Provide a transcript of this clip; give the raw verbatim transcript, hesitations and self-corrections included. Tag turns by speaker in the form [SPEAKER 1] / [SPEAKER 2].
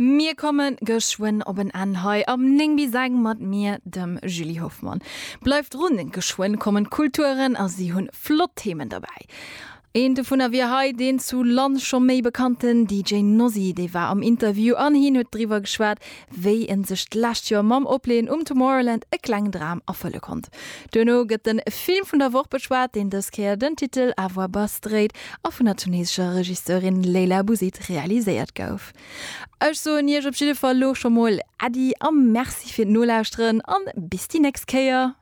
[SPEAKER 1] Mir komme geschwënn op en Enn hei am néng bis eng mat mir, dem Julie Hoffmann. Bleift drun, geschwënn kommen d'Kulturen a si hunn flott Themen derbäi. Een dovunner wier hei deen zu Land scho méi bekannten D J Nozie, dee war am Interview an hien huet driwwer geschwat, wéi en sech d'lescht Joer mam Opleeën um Tomorrowland e klengen Dram erfëlle konnt. Duerno gëtt den Film vun der Woch beschwat, deen dës Kéier den Titel À voix basse dréit a vun der tunesescher Regisseurin Leyla Bouzid realiséiert gouf. Ech soen iech op jidde Fall lo scho mol Äddi a Merci fir d'Nolauschteren an bis déi nächst Kéier.